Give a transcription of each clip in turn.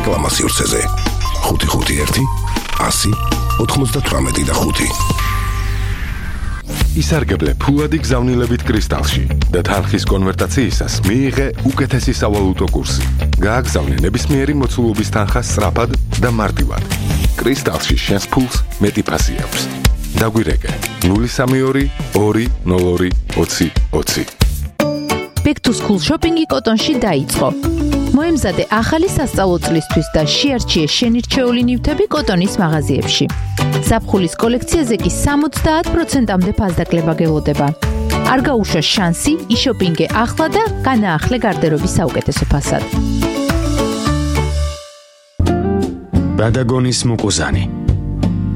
სარეკლამო სივრცეზე 551 100 98 ისარგებლე ფულადი გზავნილებით კრისტალში და თანხის კონვერტაციისას მიიღე უკეთესი სავალუტო კურსი. გააგზავნე ნებისმიერი მოცულობის თანხა სწრაფად და მარტივად. კრისტალში შენს ფულს მეტი ფასი აქვს. დაგვირეკე 032 202 20 20. Back to school shopping-ი კოტონში დაიწყო. მოემზადე ახალი სასწავლო წლისთვის და შეარჩიე შენირჩეული ნივთები კოტონის მაღაზიებში. ზაფხულის კოლექციაზე კი 70%-მდე ფასდაკლება გელოდება. არ გაუშვა შანსი, იშოპინგე ახლა და განაახლე გარდერობის საუკეთესო ფასად. ბადაგონის მუკუზანი.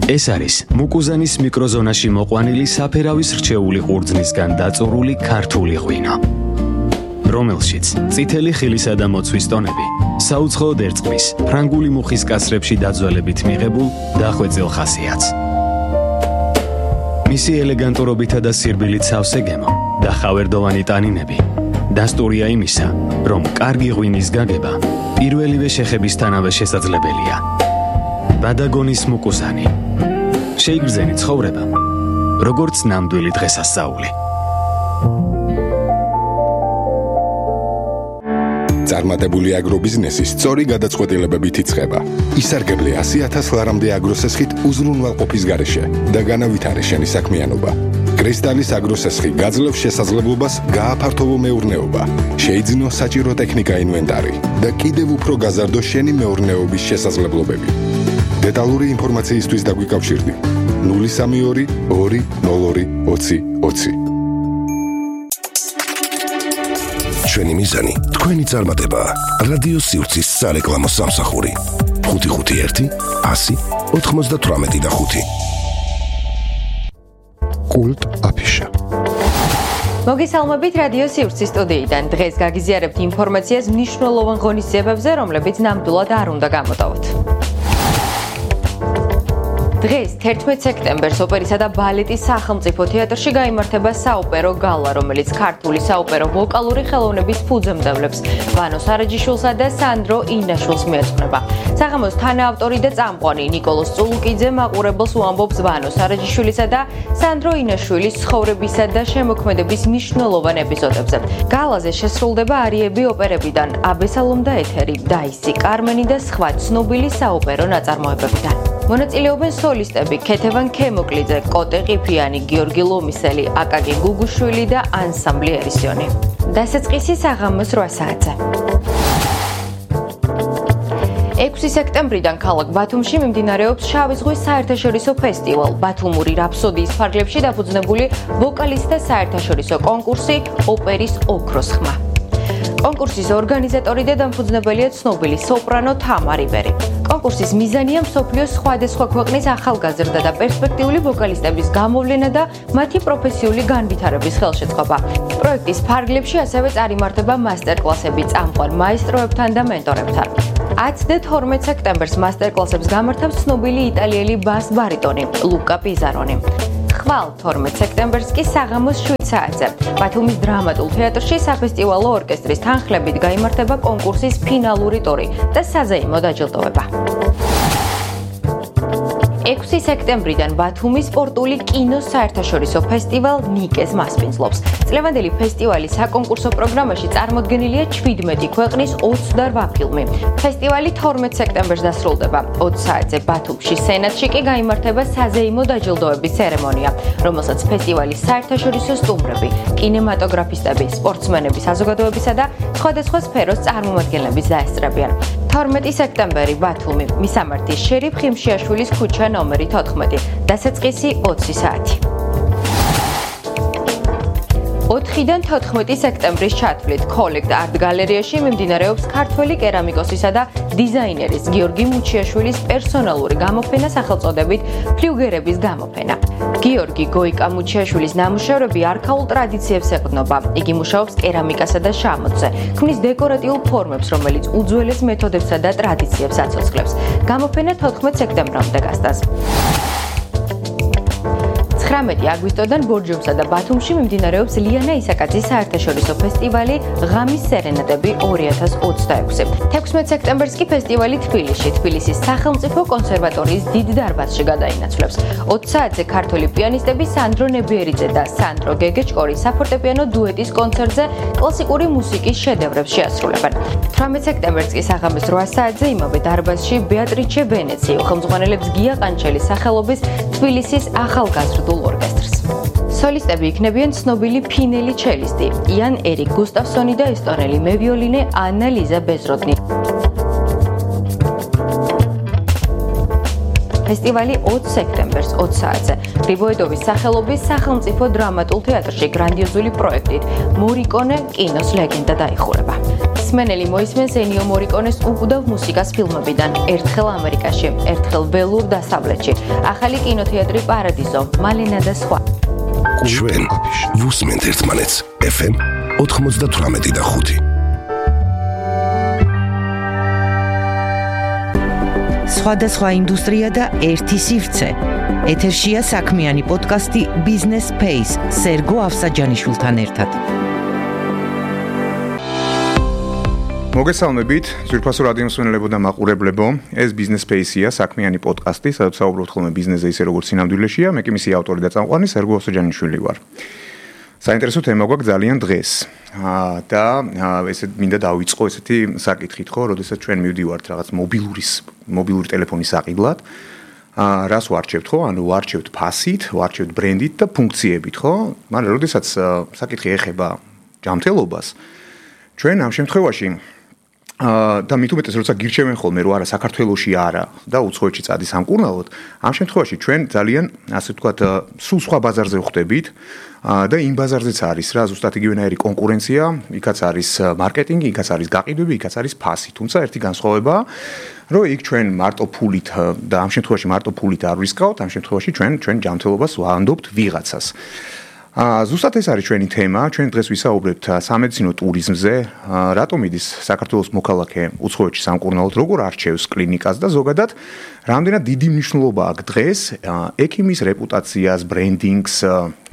ეს არის მუკუზანის მიკროზონაში მოყვანილი საფერავის რჩეული ყურძნისგან დაწურული ქართული ღვინო, რომელშიც წითელი ხილისა და მოცვის ტონები საუცხოოდ ერწყმის ფრანგული მუხის კასრებში დაძველებით მიღებულ დახვეწილ ხასიათს. მისი ელეგანტურობითა და სირბილით სავსე გემო და ხავერდოვანი ტანინები დასტურია იმისა, რომ კარგი ღვინის გაგება პირველივე შეხებისთანავე შესაძლებელია. ბადაგონის მუკუზანი. შეიგრძენი ცხოვრება, როგორც ნამდვილი დღესასწაული. წარმატებული აგრობიზნესი სწორი გადაწყვეტილებებით იწყება. ისარგებლე 100,000 ლარამდე აგროსესხით უზრუნველყოფის გარეშე და განავითარე შენი საქმიანობა. კრისტალის აგროსესხი გაძლევს შესაძლებლობას გააფართოვო მეურნეობა, შეიძინო საჭირო ტექნიკა ინვენტარი და კიდევ უფრო გაზარდო შენი მეურნეობის შესაძლებლობები. დეტალური ინფორმაციისთვის დაგვიკავშირდი 032 202 20 20. ჩვენი მიზანი თქვენი წარმატება. რადიო სივრცის სარეკლამო სამსახური 551 100 98 კულტ აფიშა. მოგესალმებით რადიო სივრცის სტუდიიდან. დღეს გაგიზიარებთ ინფორმაციას მნიშვნელოვან ღონისძიებებზე, რომლებიც ნამდვილად არ უნდა გამოტოვოთ. დღეს 11 სექტემბერს ოპერისა და ბალეტის სახელმწიფო თეატრში გაიმართება საოპერო გალა, რომელიც ქართული საოპერო ვოკალური ხელოვნების ფუძემდებლებს ვანო სარაჯიშვილსა და სანდრო ინაშვილს მიეძღვნება. საღამოს თანაავტორი და წამყვანი ნიკოლოზ წულუკიძე მაყურებელს უამბობს ვანო სარაჯიშვილისა და სანდრო ინაშვილის ცხოვრებისა და შემოქმედების მნიშვნელოვან ეპიზოდებზე. გალაზე შესრულდება არიები ოპერებიდან აბესალომ და ეთერი, დაისი, კარმენი და სხვა ცნობილი საოპერო ნაწარმოებებიდან. მონაწილეობენ სოლისტები ქეთევან ქემოკლიძე, კოტე ყიფიანი, გიორგი ლომისელი, აკაკი გუგუშვილი და ანსამბლი ერისიონი. დასაწყისი საღამოს 8 საათზე. 6 სექტემბრიდან ქალაქ ბათუმში მიმდინარეობს შავი ზღვის საერთაშორისო ფესტივალ. ბათუმური რაფსოდიის ფარგლებში დაფუძნებული ვოკალისტთა საერთაშორისო კონკურსი ოპერის ოქროს ხმა. კონკურსის ორგანიზატორი და დამფუძნებელია ცნობილი სოპრანო თამარ იბერი. კონკურსის მიზანია მსოფლიოს სხვადასხვა ქვეყნის ახალგაზრდა და პერსპექტიული ვოკალისტების გამოვლენა და მათი პროფესიული განვითარების ხელშეწყობა. პროექტის ფარგლებში ასევე წარიმართება მასტერკლასები წამყვან მაესტროებთან და მენტორებთან. 10 და 12 სექტემბერს მასტერკლასებს გამართავს ცნობილი იტალიელი ბას ბარიტონი ლუკა პიზარონი. ხვალ 12 სექტემბერს კი საღამოს 7 საათზე ბათუმის დრამატულ თეატრში საფესტივალო ორკესტრის თანხლებით გაიმართება კონკურსის ფინალური ტური და საზეიმო დაჯილდოება. 6 სექტემბრიდან ბათუმის სპორტული კინოს საერთაშორისო ფესტივალ ნიკეს მასპინძლობს. წლევანდელი ფესტივალის საკონკურსო პროგრამაში წარმოდგენილია 17 ქვეყნის 28 ფილმი. ფესტივალი 12 სექტემბერს დასრულდება. 20 საათზე ბათუმში სენატში კი გაიმართება საზეიმო დაჯილდოების ცერემონია, რომელსაც ფესტივალის საერთაშორისო სტუმრები, კინემატოგრაფისტები, სპორტსმენები საზოგადოებისა და სხვადასხვა სფეროს წარმომადგენლები დაესწრებიან. 12 სექტემბერი ბათუმი, მისამართის შერიფ ხიმშიაშვილის ქუჩა ნომერი 14, დასაწყისი 20 საათი. 4-დან 14 სექტემბრის ჩათვლით კოლექტ არტ გალერეაში მიმდინარეობს ქართველი კერამიკოსისა და დიზაინერის გიორგი მუჩიაშვილის პერსონალური გამოფენა სახელწოდებით ფლიუგერების გამოფენა. გიორგი გოიკა მუჩიაშვილის ნამუშევრები არქაულ ტრადიციებს ეყრდნობა. იგი მუშაობს კერამიკასა და შამოთზე, ქმნის დეკორატიულ ფორმებს, რომელიც უძველეს მეთოდებსა და ტრადიციებს აცოცხლებს. გამოფენა 14 სექტემბრამდე გასტანს. 19 აგვისტოდან ბორჯომსა და ბათუმში მიმდინარეობს ლიანა ისაკაძის საერთაშორისო ფესტივალი ღამის სერენადები 2026. 16 სექტემბერს კი ფესტივალი თბილისის სახელმწიფო კონსერვატორიის დიდ დარბაზში გადაინაცვლებს. 20 საათზე ქართველი პიანისტები სანდრო ნებიერიძე და სანდრო გეგეჭკორი საფორტეპიანო დუეტის კონცერტზე კლასიკური მუსიკის შედევრებს შეასრულებენ. 18 სექტემბერს კი საღამოს 8 საათზე იმავე დარბაზში ბეატრიჩე ვენეციო ხელმძღვანელებს გია ყანჩელის სახელობის თბილისის ახალგაზრდულ ორკესტრს. სოლისტები იქნებიან ცნობილი ფინელი ჩელისტი იან ერიკ გუსტავსონი და ესტონელი მევიოლინე ანა ლიზა ბეზროდნი. ფესტივალი 20 სექტემბერს 20 საათზე გრიბოედოვის სახელობის სახელმწიფო დრამატულ თეატრში გრანდიოზული პროექტით მორიკონე კინოს ლეგენდა დაიხურება. მსმენელი მოისმენს ენიო მორიკონეს უკუდავ მუსიკას ფილმებიდან ერთხელ ამერიკაში, ერთხელ ველურ დასავლეთში, ახალი კინოთეატრი პარადიზო, მალენა და სხვა. ჩვენ ვუსმენთ ერთმანეთს FM 98.5. სხვადასხვა ინდუსტრია და ერთი სივრცე. ეთერშია საქმიანი პოდკასტი Business Space სერგო ავსაჯანიშვილთან ერთად. მოგესალმებით, ძვირფასო რადიო მსმენელებო და მაყურებლებო. ეს Business Space-ია, საქმიანი პოდკასტი, სადაც საუბრობთ ხოლმე ბიზნესზე ისე როგორც სინამდვილეშია. მე კი მისი ავტორი და წამყვანი სერგო ავსაჯანიშვილი ვარ. საინტერესო თემა გვაქვს ძალიან დღეს. და ესე მინდა დავიწყო ესეთი საკითხით, ხო, როდესაც ჩვენ მივდივართ რაღაც მობილური ტელეფონის საყიდლად. რას ვარჩევთ, ხო? ანუ ვარჩევთ ფასით, ვარჩევთ ბრენდით და ფუნქციებით, ხო? მაგრამ როდესაც საკითხი ეხება ჯანმრთელობას, ჩვენ ამ შემთხვევაში და მით უმეტეს როცა გირჩევენ ხოლმე რომ არა საქართველოში არა და უცხოეთში წადი სამკურნალოდ, ამ შემთხვევაში ჩვენ ძალიან ასე ვთქვათ სულ სხვა ბაზარზე ვხვდებით და იმ ბაზარზეც არის რა ზუსტად იგივენაირი კონკურენცია, იქაც არის მარკეტინგი, იქაც არის გაყიდვები, იქაც არის ფასი. თუმცა ერთი განსხვავებაა, რომ იქ ჩვენ მარტო ფულით და ამ შემთხვევაში მარტო ფულით არ ვისკავთ, ამ შემთხვევაში ჩვენ ჯანმრთელობას ვანდობთ ვიღაცას. ზუსტად ეს არის ჩვენი თემა. ჩვენ დღეს ვისაუბრებთ სამედიცინო ტურიზმზე, რატომ იდის საქართველოს მოქალაქე უცხოეთში სამკურნალოდ, როგორ არჩევს კლინიკას და ზოგადად რამდენად დიდი მნიშვნელობა აქვს დღეს ექიმის რეპუტაციას, ბრენდინგს,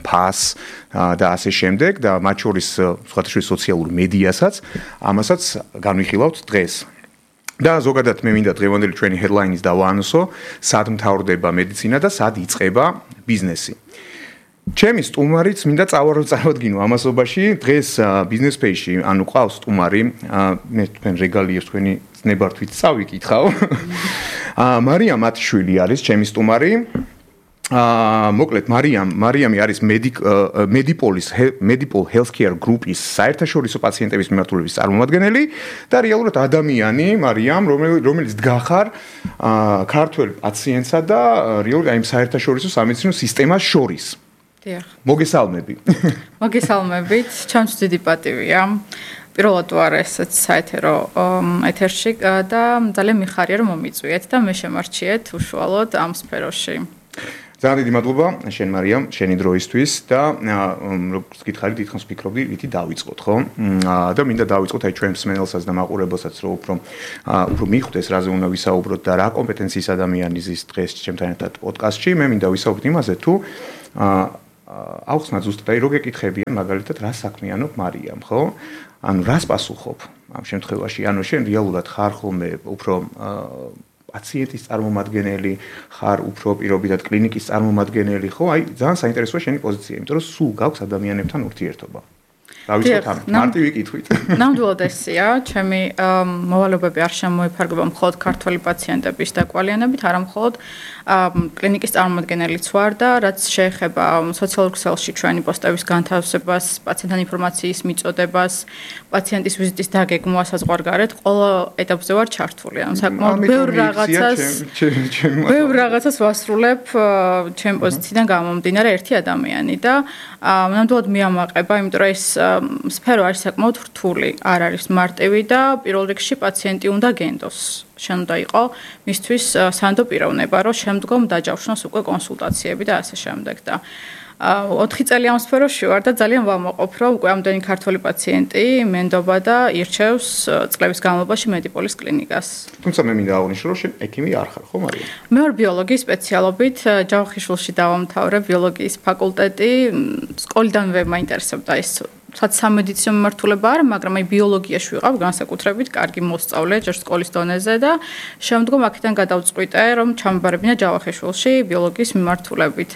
ფასს და ასე შემდეგ და მათ შორის სხვადასხვა სოციალურ მედიასაც, ამასაც განვიხილავთ დღეს. და ზოგადად მე მინდა დღევანდელი ჩვენი headline-ის დავაანონსო, სად მთავრდება მედიცინა და სად იწყება ბიზნესი. ჩემი სტუმარიც მინდა წავადგინო ამასობაში დღეს Business Space-ში, ანუ ყავს სტუმარი, მე თქვენ რეგალიებს თქვენი ზნებართვით წავიკითხავ. მარიამ ათიშვილი არის ჩემი სტუმარი. მოკლედ მარიამი არის Medipol Healthcare Group-ის საერთაშორისო პაციენტების მიმართულების წარმომადგენელი და რეალურად ადამიანი მარიამ, რომელიც დგახარ ქართველ პაციენტსა და რეალურად აი საერთაშორისო სამედიცინო სისტემას შორის. მოგესალმები. მოგესალმებით, ჩემს დიდი პატივია. პირველად ვარ ესეც საეთერო ეთერში და ძალიან მიხარია რომ მომიწვიეთ და მე შემარჩიეთ უშუალოდ ამ სფეროში. ძალიან დიდი მადლობა შენ მარიამ, შენი დროისთვის და როგორც გითხარი, თითქოს ვფიქრობდი, ვითი დავიწყოთ, ხო? და მინდა დავიწყოთ აი ჩვენ მსმენელსაც და მაყურებელსაც, რომ უფრო მიხვდეს, რაზე უნდა ვისაუბროთ და რა კომპეტენციის ადამიანი ზის დღეს ჩემთან ერთად პოდკასტში. მე მინდა ვისაუბროთ იმაზე, თუ აუხსნათ ზუსტად აი რო გეკითხებიან მაგალითად რა საქმიანობ მარიამ, ხო? ანუ რას პასუხობ ამ შემთხვევაში? ანუ შენ რეალურად ხარ ხოლმე უფრო პაციენტის წარმომადგენელი, ხარ უფრო პირობითად კლინიკის წარმომადგენელი, ხო? აი ძალიან საინტერესოა შენი პოზიცია, იმიტომ რომ სულ გაქვს ადამიანებთან ურთიერთობა. დავიწყოთ ამ მარტივი კითხვით. ნამდვილად ესეა, ჩემი მოვალეობები არ შემოიფარგლება მხოლოდ ქართველი პაციენტების და კვალიანებით, არა მხოლოდ კლინიკის წარმომადგენელიც ვარ და რაც შეეხება სოციალურ ქსელში ჩვენი პოსტების განთავსებას, პაციენტთან ინფორმაციის მიწოდებას, პაციენტის ვიზიტის დაგეგმვას საზღვარგარეთ, ყველა ეტაპზე ვარ ჩართული. ანუ საკმაოდ ბევრ რაღაცას ვასრულებ ჩემი პოზიციიდან გამომდინარე ერთი ადამიანი და ნამდვილად მიამაყება, იმიტომ რომ ეს სფერო არის საკმაოდ რთული, არ არის მარტივი და პირველ რიგში პაციენტი უნდა გენდოს. შენ უნდა იყო მისთვის სანდო პიროვნება, რომ შემდგომ დაჯავშნოს უკვე კონსულტაციები და ასე შემდეგ და 4 წელი ამ სფეროში ვარ და ძალიან ვამაყობ, რომ უკვე ამდენი ქართველი პაციენტი მენდობა და ირჩევს წლების განმავლობაში მედიპოლის კლინიკას. თუმცა მე მინდა აღნიშნო, რომ შენ ექიმი არ ხარ, ხო მარია? მე ვარ ბიოლოგიის სპეციალობით, ჯავახიშვილში დავამთავრე ბიოლოგიის ფაკულტეტი. სკოლიდანვე მაინტერესებდა ეს სამედიცინო მიმართულება არა, მაგრამ აი ბიოლოგიაში ვიყავ განსაკუთრებით კარგი მოსწავლე ჯერ სკოლის დონეზე და შემდგომ აქედან გადავწყვიტე, რომ ჩამბარებინა ჯავახიშვილში ბიოლოგიის მიმართულებით.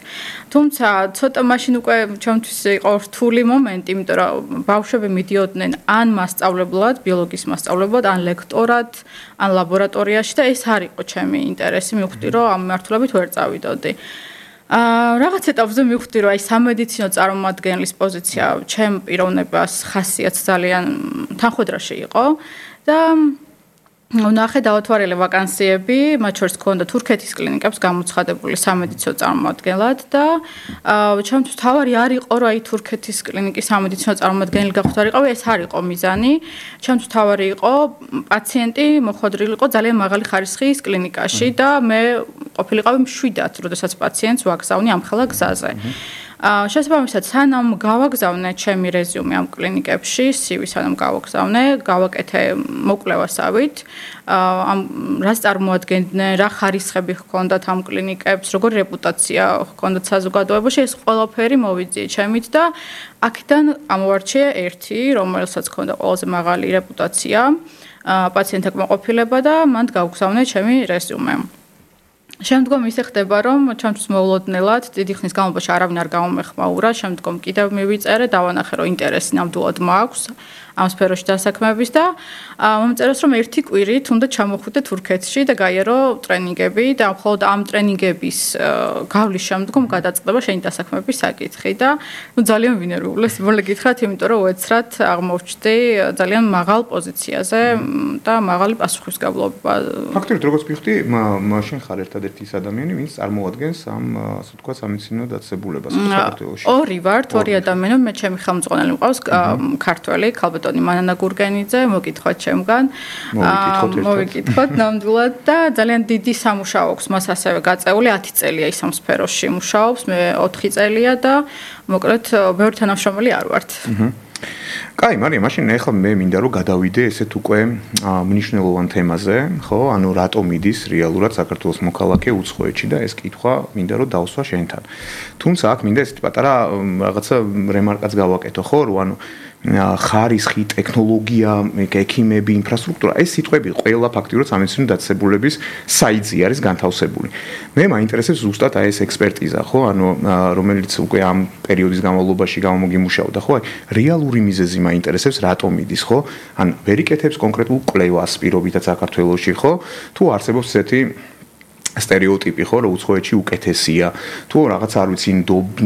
თუმცა ცოტა მაშინ უკვე ჩემთვის იყო რთული მომენტი, იმიტომ რომ ბავშვები მიდიოდნენ ან მასწავლებლად, ბიოლოგიის მასწავლებლად, ან ლექტორად, ან ლაბორატორიაში და ეს არ იყო ჩემი ინტერესი, მივხვდი, რომ ამ მიმართულებით ვერ წავიდოდი. რაღაც ეტაპზე მივხვდი, რომ აი სამედიცინო წარმომადგენლის პოზიცია ჩემ პიროვნებას ხასიათს ძალიან თანხმედრაში იყო და ვნახე დავათვალე ვაკანსიები, მათ შორის ჰქონდა თურქეთის კლინიკებს გამოცხადებული სამედიცინო წარმომადგენლად და ჩემთვის თავარი არ იყო, რომ აი თურქეთის კლინიკის სამედიცინო წარმომადგენელი გახვდარიყავი, ეს არ იყო მიზანი. ჩემთვის თავარი იყო პაციენტი მოხვედრილიყო ძალიან მაღალი ხარისხის კლინიკაში და მე ყოფილიყავი მშვიდად, როდესაც პაციენტს ვაგზავნი ამ ხელა გზაზე. შესაბამისად, სანამ გავაგზავნე ჩემი რეზიუმე ამ კლინიკებში, CV სანამ გავაგზავნე, გავაკეთე მოკვლევასავით, ამ რას წარმოადგენდნენ, რა ხარისხები ჰქონდათ ამ კლინიკებს, როგორი რეპუტაცია ჰქონდათ საზოგადოებაში, ეს ყველაფერი მოვიძიე ჩემით და აქედან ამოვარჩიე ერთი, რომელსაც ჰქონდა ყველაზე მაღალი რეპუტაცია, პაციენტთა კმაყოფილება და მან გავგზავნე ჩემი რეზიუმე. შემდგომ ისე ხდება, რომ ჩემთვის მოულოდნელად დიდი ხნის განმავლობაში არავინ არ გამომეხმაურა, შემდგომ კიდევ მივიწერე, დავანახე, რომ ინტერესი ნამდვილად მაქვს ამ სფეროში დასაქმების და მომწერეს, რომ ერთი კვირით უნდა ჩამოხვიდე თურქეთში და გაიარო ტრენინგები და მხოლოდ ამ ტრენინგების გავლის შემდგომ გადაწყდება შენი დასაქმების საკითხი და ძალიან ვინერვული სიმბოლე გითხრათ, იმიტომ რომ უეცრად აღმოჩნდი ძალიან მაღალ პოზიციაზე და მაღალი პასუხისმგებლობა. ფაქტობრივად როგორც ვიხდი, მაშინ ხარ ერთადერთი ის ადამიანი, ვინც წარმოადგენს ამ ასე ვთქვათ სამედიცინო დაწესებულებას საქართველოში. ორი ვართ, ორი ადამიანი, მე ჩემი ხელმძღვანელი მყავს ქართველი, ქალბატონი მანანა გურგენიძე, მოგკითხოთ ჩემგან. მოვიკითხოთ ნამდვილად და ძალიან დიდი სამუშაო აქვს მას ასევე გაწეული, 10 წელია ის ამ სფეროში მუშაობს, მე 4 წელია და მოკლედ ბევრი თანამშრომელი არ ვართ. კაი, მარია, მაშინ ახლა მე მინდა რომ გადავიდე ესეთ უკვე მნიშვნელოვან თემაზე, ხო? ანუ რატომ მიდის რეალურად საქართველოს მოქალაქე უცხოეთში და ეს კითხვა მინდა რომ დავსვა შენთან. თუმცა აქ მინდა ესეთ პატარა რაღაცა რემარკაც გავაკეთო, ხო? რომ ანუ ხარისხი, ტექნოლოგია, ექიმები, ინფრასტრუქტურა, ეს სიტყვები ყველა ფაქტიურად სამედიცინო დაწესებულების საიტზე არის განთავსებული. მე მაინტერესებს ზუსტად აი ეს ექსპერტიზა, ხო? ანუ რომელიც უკვე ამ პერიოდის განმავლობაში გამომგიმუშავდა, ხო? აი რეალური მიზეზი მაინტერესებს, რატომ მიდის, ხო? ან ვერიკეთებს კონკრეტულ კვლევას პირობითაც საქართველოში, ხო? თუ არსებობს ესეთი стереოტიპი ხო რომ უცხოეთში უკეთესია თუ რაღაც არ ვიცი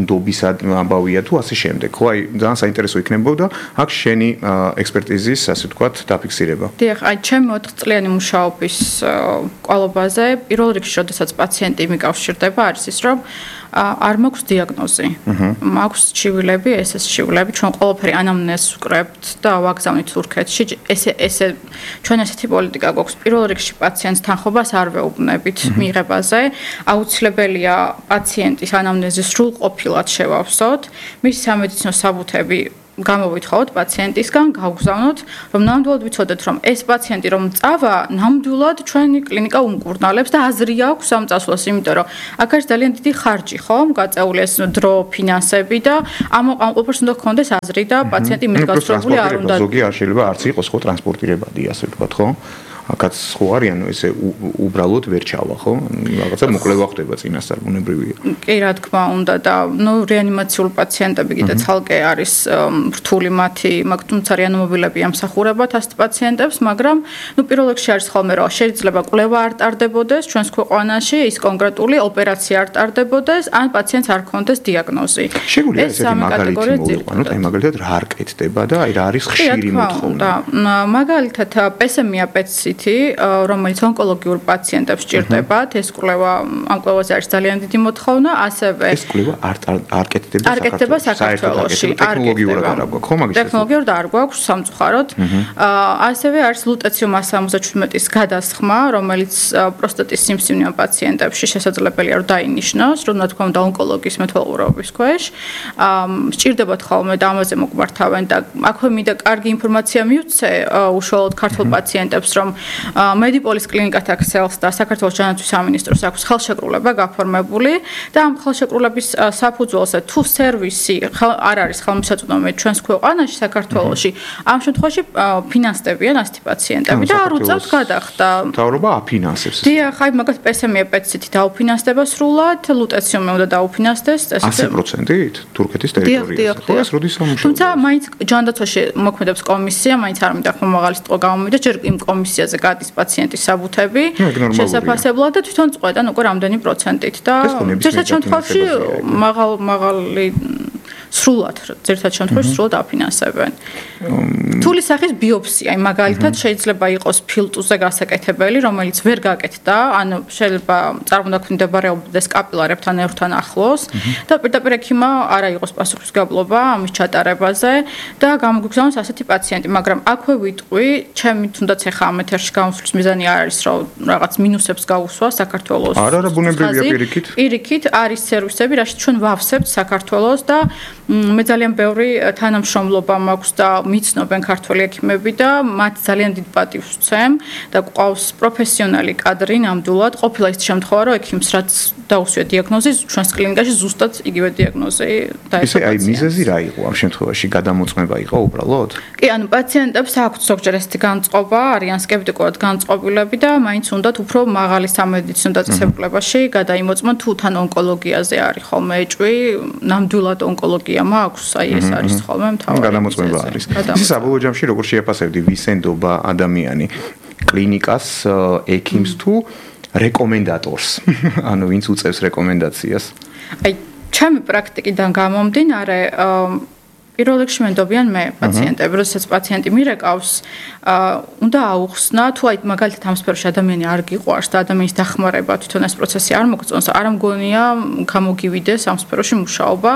ნდობისა ამბავია თუ ასე შემდეგ ხო აი ძალიან საინტერესო იქნებოდა აქ შენი ექსპერტიზის ასე ვთქვათ დაფიქსირება. დიახ, აი ჩემი 4 წლიანი მუშაობის კვალობაზე პირველ რიგში როდესაც პაციენტი მიკავშირდება არის ის რომ არ მაქვს დიაგნოზი. მაქვს ჩივილები, SS ჩივილები, ჩვენ ყველაფერი ანამნეზს ვკრებთ და ვაგზავნით თურქეთში. ესე ჩვენ ესეთი პოლიტიკა გვაქვს. პირველ რიგში პაციენტს თანხმობას არ ვეუბნებით მიღებაზე. აუცილებელია პაციენტის ანამნეზი სრულყოფილად შევავსოთ. მისი სამედიცინო საბუთები გამოვითხოვოთ პაციენტისგან, გავგზავნოთ, რომ ნამდვილად ვიცოდეთ, რომ ეს პაციენტი რომ წავა, ნამდვილად ჩვენი კლინიკა უმკურნალებს და აზრი აქვს ამ წასვლას, იმიტომ რომ აქ არის ძალიან დიდი ხარჯი, ხომ? გაწეული ეს დრო, ფინანსები და ამ ყველაფერს უნდა გქონდეს აზრი და პაციენტი მიდგაცრუებული არ უნდა. ზოგი არ შეიძლება არც იყოს ხო ტრანსპორტირებადი, ასე ვთქვათ, ხო? აქაც ხო არის, ანუ ესე უბრალოდ ვერ ჩავა, ხო? რაღაცა მოკვლევა ხდება წინასწარ ბუნებრივია. კი, რა თქმა უნდა და რეანიმაციულ პაციენტები კიდე ცალკე არის რთული მათი, თუმცა რეანიმობილები ამსახურებათ ასეთ პაციენტებს, მაგრამ პირველ რიგში არის ხოლმე რომ შეიძლება კვლევა არ ტარდებოდეს ჩვენს ქვეყანაში, ის კონკრეტული ოპერაცია არ ტარდებოდეს, ან პაციენტს არ ქონდეს დიაგნოზი. შეგვიძლია ესეთი მაგალითი მოვიყვანოთ, აი მაგალითად რა არ კეთდება და აი რა არის ხშირი მოთხოვნა. მაგალითად პესემია პეცი დეფიციტი, რომელიც ონკოლოგიურ პაციენტებს ჭირდებათ. ეს კვლევა ამ კვლევაზე არის ძალიან დიდი მოთხოვნა, ასევე ეს კვლევა არ კეთდება საქართველოში. ტექნოლოგიურად არ აქვს, ხო მაგის? ტექნოლოგიურად არ გვაქვს სამწუხაროდ. ასევე არის ლუტეციუმ 177-ის გადასხმა, რომელიც პროსტატის სიმსივნე პაციენტებში შესაძლებელია რომ დაინიშნოს, რომ რა თქმა უნდა ონკოლოგიის მეთვალყურეობის ქვეშ. სჭირდებათ ხოლმე და ამაზე მოგვართავენ და აქვე მინდა კარგი ინფორმაცია მივცე უშუალოდ ქართულ პაციენტებს, რომ მედიპოლის კლინიკათა ქსელს და საქართველოს ჯანმრთელობის სამინისტროს აქვს ხელშეკრულება გაფორმებული და ამ ხელშეკრულების საფუძველზე თუ სერვისი არ არის ხელმისაწვდომი ჩვენს ქვეყანაში საქართველოში, ამ შემთხვევაში ფინანსდებიან ასეთი პაციენტები და არ უწევთ გადახდა. მთავრობა აფინანსებს. დიახ, აი მაგათ პესემია პეციტი დაუფინანსდება სრულად, ლუტეციუმი უნდა დაუფინანსდეს 100%-ით თურქეთის ტერიტორიაზე. ხო, ეს როდის სამუშაოა? თუმცა მაინც ჯანდაცვაში მოქმედებს კომისია, მაინც არ მინდა ხომ მაღალი სიტყვა გამომივიდა, ჯერ იმ კომისიაზე გადის პაციენტის საბუთები შესაფასებლად და თვითონ წყვეტენ უკვე რამდენი პროცენტით და ერთ შემთხვევაში მაღალი სრულად სრულად აფინანსებენ. თული სახის ბიოპსია, აი მაგალითად შეიძლება იყოს ფილტუზე გასაკეთებელი, რომელიც ვერ გაკეთდა, ანუ შეიძლება წარმოდაქმნდებარებდეს კაპილარებთან ერთთან ახლოს და პირდაპირ ექიმმა არა იყოს პასუხისმგებლობა ამის ჩატარებაზე და გამოგვიგზავნოს ასეთი პაციენტი, მაგრამ აქვე ვიტყვი, ჩემი თუნდაც ახლა ამ ეთერში გამოსვლის მიზანი არ არის, რომ რაღაც მინუსებს გავუსვა საქართველოს. არა, ბუნებრივია პირიქით. პირიქით არის სერვისები, რაშიც ჩვენ ვავსებთ საქართველოს და მე ძალიან ბევრი თანამშრომლობა მაქვს და მიცნობენ ქართველი ექიმები და მათ ძალიან დიდ პატივს ვცემ და გვყავს პროფესიონალი კადრი ნამდვილად. ყოფილა ის შემთხვევა, რომ ექიმს რაც დაუსვია დიაგნოზი, ჩვენს კლინიკაში ზუსტად იგივე დიაგნოზი დაესწრო. ისე აი მიზეზი რა იყო ამ შემთხვევაში? გადამოწმება იყო უბრალოდ? კი, ანუ პაციენტებს აქვთ ზოგჯერ ესეთი განწყობა, არიან სკეპტიკურად განწყობილები და მაინც უნდათ უფრო მაღალი სამედიცინო დაწესებულებაში გადაიმოწმონ, თუ თან ონკოლოგიაზე არის ხოლმე ეჭვი, ნამდვილად ონკოლოგია მაქვს, აი ეს არის ხოლმე მთავარი. გადამოწმება არის. ის საბოლოო ჯამში როგორ შეაფასებდი ვისენდობა ადამიანი კლინიკას, ექიმს თუ რეკომენდატორს? ანუ ვინც უწევს რეკომენდაციას? აი, ჩემი პრაქტიკიდან გამომდინარე, პირველ რიგში მენდობიან მე პაციენტები, როდესაც პაციენტი მირეკავს, უნდა აუხსნა, თუ აი მაგალითად ამ სფეროში ადამიანი არ გიყვარს და ადამიანის დახმარება თვითონ ეს პროცესი არ მოგწონს, არ მგონია გამოგივიდეს ამ სფეროში მუშაობა.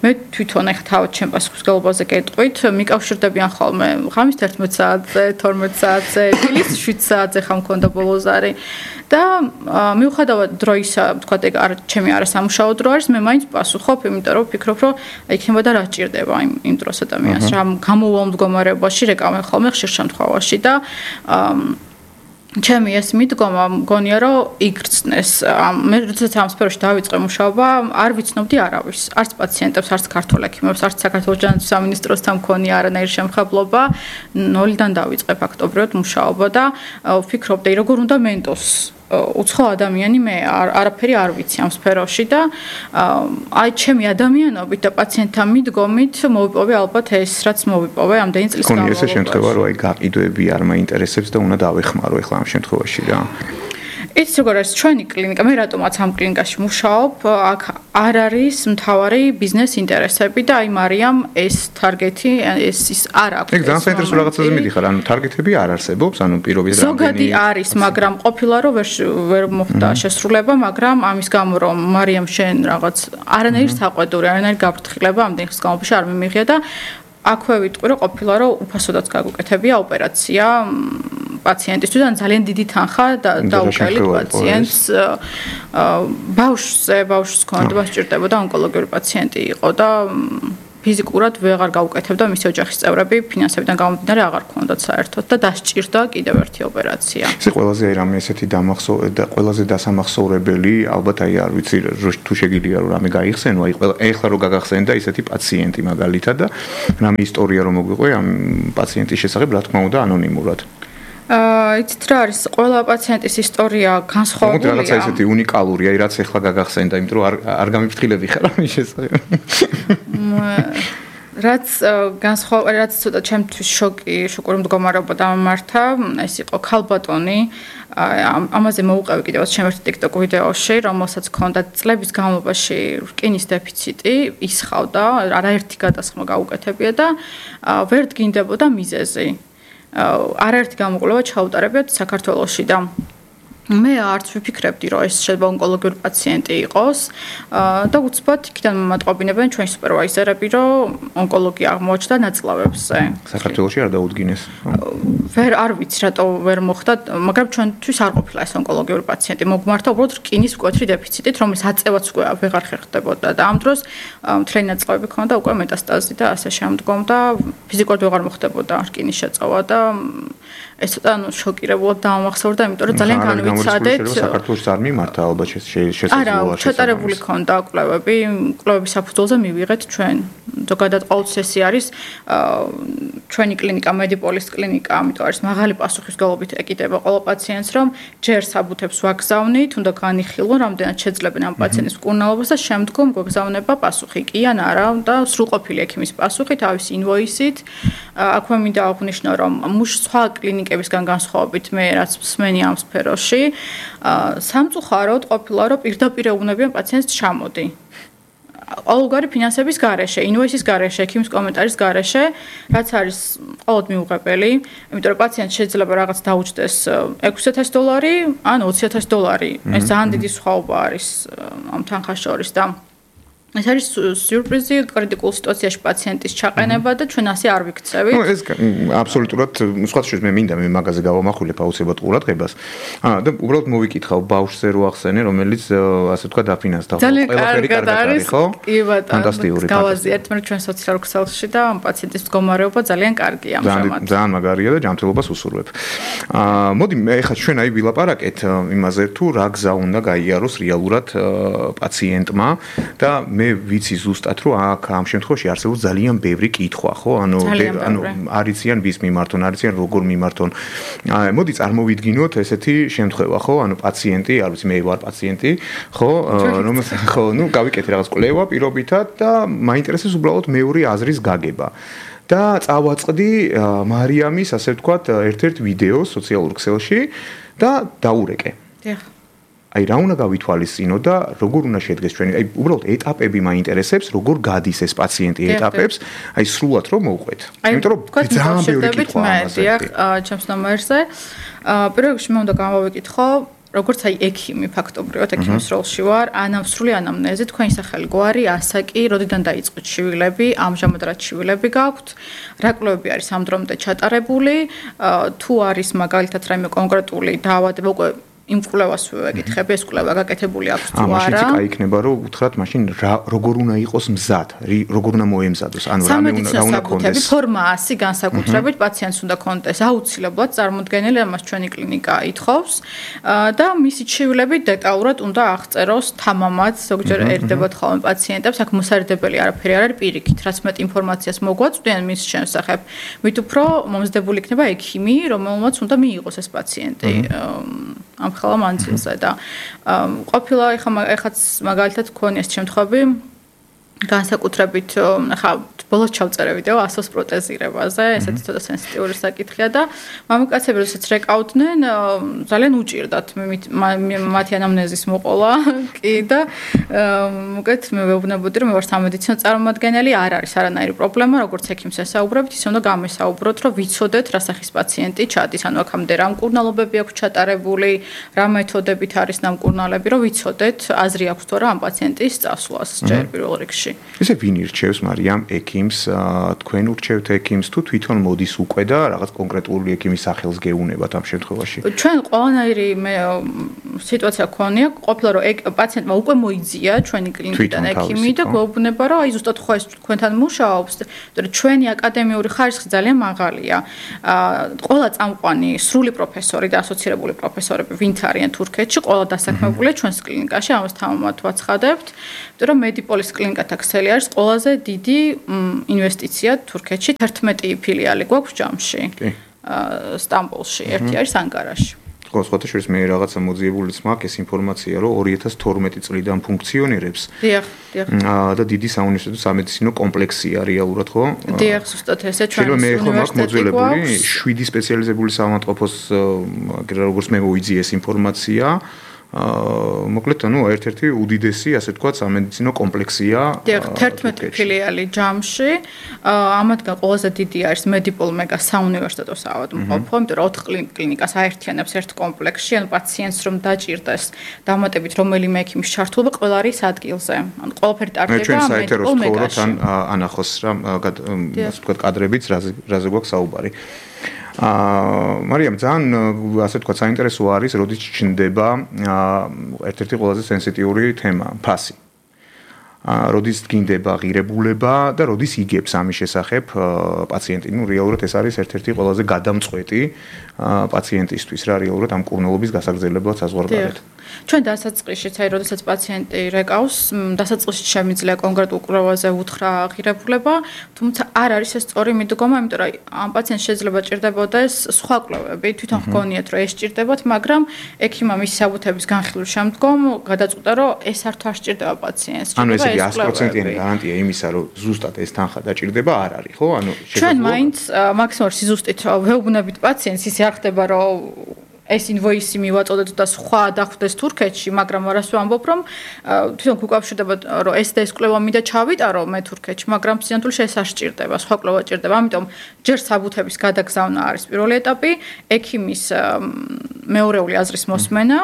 მე თვითონ ახლა თავად ჩემ პასუხისმგებლობაზე გეტყვით, მიკავშირდებიან ხოლმე ღამის 11 საათზე, 12 საათზე, დილის 7 საათზე ხა მქონდა ბოლო ზარი და მიუხედავად დროისა, თქვა ეგ ჩემი არასამუშაო დრო არის, მე მაინც პასუხობ, იმიტომ რომ ვფიქრობ, რომ იქნება და რა ჭირდება იმ დროს ადამიანს, რა გამოუვალ მდგომარეობაში რეკავენ ხოლმე ხშირ შემთხვევაში და ჩემი ეს მიდგომა მგონია რომ იგრძნეს. მე როდესაც ამ სფეროში დავიწყე მუშაობა, არ ვიცნობდი არავის, არც პაციენტებს, არც ქართულ ექიმებს, არც საქართველოს ჯანმრთელობის სამინისტროსთან მქონია არანაირი შემხებლობა. ნოლიდან დავიწყე ფაქტობრივად მუშაობა და ვფიქრობდი, როგორ უნდა მენტოს უცხო ადამიანი მე არაფერი არ ვიცი ამ სფეროში და აი ჩემი ადამიანობით და პაციენტთან მიდგომით მოვიპოვე ალბათ ეს რაც მოვიპოვე ამდენი წლის განმავლობაში. კონი ესე შემთხვევა რომ აი გაყიდვები არ მაინტერესებს და უნდა დავეხმარო ახლა ამ შემთხვევაში რა. იცი როგორ არის ჩვენი კლინიკა, მე რატომაც ამ კლინიკაში მუშაობ, აქ არ არის მთავარი ბიზნეს ინტერესები და აი მარიამ ეს ტარგეტი ის არ აქვს. ეგ ძალიან საინტერესო რაღაცაზე მიდიხარ, ანუ ტარგეტები არ არსებობს, ანუ პირობის რამდენი ზოგადი არის, მაგრამ ყოფილა რომ ვერ მოხდა შესრულება, მაგრამ ამის გამო რომ მარიამ შენ რაღაც არანაირი საყვედური, არანაირი გაფრთხილება ამდენი ხნის განმავლობაში არ მიმიღია და აქვე ვიტყვი რომ ყოფილა რომ უფასოდაც გაგუკეთებია ოპერაცია პაციენტისთვის, ან ძალიან დიდი თანხა დაუკელით პაციენტს. ბავშვს ქონდა სჭირდებოდა ონკოლოგიური პაციენტი იყო და ფიზიკურად ვეღარ გაუკეთებდა მისი ოჯახის წევრები, ფინანსებიდან გამომდინარე აღარ ქონდათ საერთოდ და დასჭირდა კიდევ ერთი ოპერაცია. ეს ყველაზე აი რამე ესეთი და ყველაზე დასამახსოვრებელი, ალბათ აი არ ვიცი თუ შეგიძლია რომ რამე გაიხსენო, აი ეხლა რო გაგახსენდა ისეთი პაციენტი მაგალითად და რამე ისტორია რომ მოგვიყვე ამ პაციენტის შესახებ, რა თქმა უნდა ანონიმურად. იცით რა არის, ყველა პაციენტის ისტორია განსხვავებულია. მოდი რაღაცა ისეთი უნიკალურია, აი რაც ეხლა გაგახსენდა, იმიტომ რომ არ გამიფრთხილები ხარ ამის შესახებ. რაც ცოტა ჩემთვის შოკური მდგომარეობა დამემართა, ეს იყო ქალბატონი. ამაზე მოუყევი კიდევაც ჩემ ერთ TikTok ვიდეოში, რომელსაც ჰქონდა წლების განმავლობაში რკინის დეფიციტი, ისხავდა, არაერთი გადასხმა გაუკეთებია და ვერ დგინდებოდა მიზეზი. არაერთი გამოკვლევა ჩაუტარებიათ საქართველოში და მე არც ვიფიქრებდი, რომ ეს შეიძლება ონკოლოგიური პაციენტი იყოს და უცბად იქიდან მომატყობინებენ ჩვენი სუპერვაიზერები, რომ ონკოლოგია აღმოაჩნდა ნაწლავებზე. საქართველოში არ დაუდგინეს. არ ვიცი, რატო ვერ მოხდა, მაგრამ ჩვენთვის არ ყოფილა ეს ონკოლოგიური პაციენტი. მოგმართა უბრალოდ რკინის მკვეთრი დეფიციტით, რომლის აწევაც უკვე ვეღარ ხერხდებოდა და ამ დროს მთლიანი ნაწლავები ქონდა უკვე მეტასტაზი და ასე შემდგომ და ფიზიკურად ვეღარ მოხდებოდა რკინის შეწოვა და ეს ცოტა შოკირებულად დაამახსოვრდა, იმიტომ რომ ძალიან განვიცადეთ. საქართველოს არ მიმართა ალბათ შესაძლოა. არა, ჩატარებული ქონდა კვლევები, კვლევების საფუძველზე მივიღეთ ჩვენ. ზოგადად ყოველთვის არის ჩვენი კლინიკა, მედიპოლის კლინიკა, ამიტომ არის მაღალი პასუხისმგებლობით ეკიდება ყველა პაციენტს, რომ ჯერ საბუთებს ვაგზავნით, უნდა განიხილონ, რამდენად შეძლებენ ამ პაციენტის მკურნალობას და შემდგომ გვაგზავნება პასუხი კი ან არა და სრულყოფილი ექიმის პასუხი თავის ინვოისით. აქვე მინდა აღვნიშნო, რომ სხვა კლინიკებისგან განსხვავებით მე რაც მსმენი ამ სფეროში, სამწუხაროდ ყოფილა, რომ პირდაპირ ეუბნებიან პაციენტს ჩამოდი. ყოველგვარი ფინანსების გარეშე, ინვოისის გარეშე, ექიმის კომენტარის გარეშე, რაც არის ყოველდღე მიუღებელი, იმიტომ რომ პაციენტს შეიძლება რაღაც დაუჯდეს $6,000 ან $20,000. ეს ძალიან დიდი სხვაობა არის ამ თანხას შორის და ეს არის სიურპრიზი კრიტიკულ სიტუაციაში პაციენტის ჩაყენება და ჩვენ ასე არ ვიქცევით. ეს აბსოლუტურად სხვა შეიძლება მე მინდა მე მაგაზე გავამახვილებ აუცილებლად ყურადღებას. და უბრალოდ მოვიკითხავ ბავშვზე რო ახსენე, რომელიც ასე თქვა დაფინანსდა. ყველაფერი კარგად არის, ხო? კი ბატონო. ფანტასტიკური. გავაზიარეთ მე ჩვენ სოციალურ ქსელში და პაციენტის მდგომარეობა ძალიან კარგია ამჟამად. ძალიან მაგარია და ჯანმრთელობას უსურვებ. მოდი მე ხა ჩვენ აი ვილაპარაკეთ იმაზე თუ რა გზა უნდა გაიაროს რეალურად პაციენტმა და მე ვიცი ზუსტად რომ აქ ამ შემთხვევაში არსებობს ძალიან ბევრი კითხვა, ხო? ანუ არიციან ვის მიმართონ, არიციან როგორ მიმართონ. მოდი წარმოვიდგინოთ ესეთი შემთხვევა, ხო? ანუ პაციენტი, არ ვიცი, მე ვარ პაციენტი, ხო? ხო, ნუ გავიკეთე რაღაც კვლევა პირობითად და მაინტერესებს უბრალოდ მეური აზრის გაგება. და წავაწყდი მარიამის, ასე ვთქვათ, ერთ-ერთ ვიდეოს სოციალურ ქსელში და დაურეკე. დიახ. აი რა უნდა გავითვალისწინო და როგორ უნდა შედგეს ჩვენი აი უბრალოდ ეტაპები მაინტერესებს როგორ გადის ეს პაციენტი ეტაპებს აი სრულად რომ მოვყვეთ იმიტომ რომ ძალიან ბევრი კითხვა ამაზე დიახ ჩემს ნომერზე პირველ რიგში მე უნდა გამოვიკითხო როგორც აი ექიმი ფაქტობრივად ექიმის როლში ვარ ანამსრული ანამნეზი თქვენი სახელი გვარი ასაკი როდიდან დაიწყო ჩივილები ამჟამად რა ჩივილები გაქვთ რა კვლევები არის ამ დრომდე ჩატარებული თუ არის მაგალითად რაიმე კონკრეტული დაავადება უკვე იმ კვლევას ვეკითხები, ეს კვლევა გაკეთებული აქვს თუ არა. მაშინ კი იქნება რომ უთხრათ მაშინ როგორ უნდა იყოს მზად, როგორ უნდა მოემზადოს, ანუ რამე უნდა კონდეს. ფორმა 100 განსაკუთრებით პაციენტს უნდა კონდეს აუცილებლად წარმოდგენილი, ამას ჩვენი კლინიკა ითხოვს და მისი ჩივილები დეტალურად უნდა აღწეროს თამამად, ზოგჯერ ერდებათ ხოლმე პაციენტებს, აქ მოსარიდებელი არაფერი არ არის პირიქით, რაც მეტ ინფორმაციას მოგვაწვდიან მის შემსახებ, მით უფრო მომზადებული იქნება ექიმი, რომელმაც უნდა მიიღოს ეს პაციენტი. ამ ხალა მანძილზე და ყოფილა ეხაც მაგალითად გქონია ეს შემთხვევები განსაკუთრებით ხა ბოლოს ჩავწერე ვიდეო ასოს პროტეზირებაზე ესეთი ცოტა სენსიტიური საკითხია და მამაკაცები როდესაც რეკავდნენ ძალიან უჭირდათ მათი ანამნეზის მოყოლა კი და მოკეთ მე ვეუბნებოდი რომ მე ვარ სამედიცინო წარმომადგენელი არ არის არანაირი პრობლემა როგორც ექიმს ესაუბრებთ ის უნდა გამესაუბროთ რომ ვიცოდეთ რა სახის პაციენტი ჩადის ანუ აქამდე რა მკურნალობები აქვს ჩატარებული რა მეთოდებით არის ნამკურნალები რომ ვიცოდეთ აზრი აქვს თუ არა ამ პაციენტის წასვლას ჯერ პირველ რიგში ესე ვინ ირჩევს მარიამ ექიმს თქვენ ურჩევთ ექიმს თუ თვითონ მოდის უკვე და რაღაც კონკრეტული ექიმის სახელს გეუნებათ ამ შემთხვევაში ჩვენ ყველანაირი სიტუაცია ქონია ყოფილა რომ პაციენტმა უკვე მოიძია ჩვენი კლინიკიდან ექიმი და გვეუბნება რომ აი ზუსტად ხო ეს თქვენთან მუშაობს იმიტომ რომ ჩვენი აკადემიური ხარისხი ძალიან მაღალია ყველა წამყვანი სრული პროფესორი და ასოცირებული პროფესორები ვინც არიან თურქეთში ყველა დასაქმებულია ჩვენს კლინიკაში ამას თამამად ვაცხადებთ იმიტომ რომ მედიპოლის კლინიკათა ქსელი არის ყველაზე დიდი ინვესტიცია თურქეთში 11 ფილიალი გვაქვს ჯამში სტამბოლში ერთი არის ანკარაში ხო სხვათა შორის მე რაღაცა მოძიებულიც მაქვს ეს ინფორმაცია რომ 2012 წლიდან ფუნქციონირებს დიახ და დიდი საუნივერსიტეტო სამედიცინო კომპლექსია რეალურად ხო დიახ ზუსტად ესე ჩვენ მე ხო მაქვს მოძველებული 7 სპეციალიზებული საავადმყოფოს როგორც მე მოიძიეს ინფორმაცია მოკლედ ერთ-ერთი უდიდესი, ასე ვთქვათ, სამედიცინო კომპლექსია. 11 ფილიალი ჯამში. ამათგან ყველაზე დიდი არის Medipol Mega საუნივერსიტეტო საავადმყოფო, იმიტომ რომ 4 კლინიკას აერთიანებს ერთ კომპლექსში, ანუ პაციენტს რომ დაჭირდეს დამატებით რომელიმე ექიმის ჩართულობა ყველა არის ადგილზე. ანუ ყველაფერი ტარდება Medipol Mega-ში. თან ანახოს რა, ასე ვთქვათ, კადრებიც, რაზე გვაქვს საუბარი. მარიამ, ძალიან ასე ვთქვათ, საინტერესო არის, როდის ჩნდება ერთ-ერთი ყველაზე სენსიტიური თემა, ფასი. როდის დგინდება ღირებულება და როდის იგებს ამის შესახებ პაციენტი. რეალურად ეს არის ერთ-ერთი ყველაზე გადამწყვეტი პაციენტისთვის რა, რეალურად ამ კურნალობის გასაგრძელებაც საზღვარგარეთ. ჩვენ დასაწყისშიც, როდესაც პაციენტი რეკავს, დასაწყისში შემიძლია კონკრეტულ კვლევაზე უთხრა ღირებულება, თუმცა არ არის ეს სწორი მიდგომა, იმიტომ რომ ამ პაციენტს შეიძლება ჭირდებოდეს სხვა კვლევები, თვითონ ჰგონიათ, რომ ეს ჭირდებათ, მაგრამ ექიმმა მისი საბუთების განხილვის შემდგომ გადაწყვიტა, რომ ეს არ სჭირდება პაციენტს. ანუ ესე იგი 100%-იანი გარანტია იმისა, რომ ზუსტად ეს თანხა დაჭირდება არ არის, ხო? ანუ ჩვენ მაინც მაქსიმალურ სიზუსტით ვეუბნებით პაციენტს, ისე არ ხდება, რომ ეს ინვოისი მივაწოდეთ და სხვა დახვდეს თურქეთში, მაგრამ არას ვამბობ, რომ თვითონ გუკავშირდება, რომ ეს და ეს კვლევა მინდა ჩავიტარო მე თურქეთში, მაგრამ სინამდვილეში ეს არ სჭირდება, სხვა კვლევა ჭირდება. ამიტომ ჯერ საბუთების გადაგზავნა არის პირველი ეტაპი, ექიმის მეორეული აზრის მოსმენა,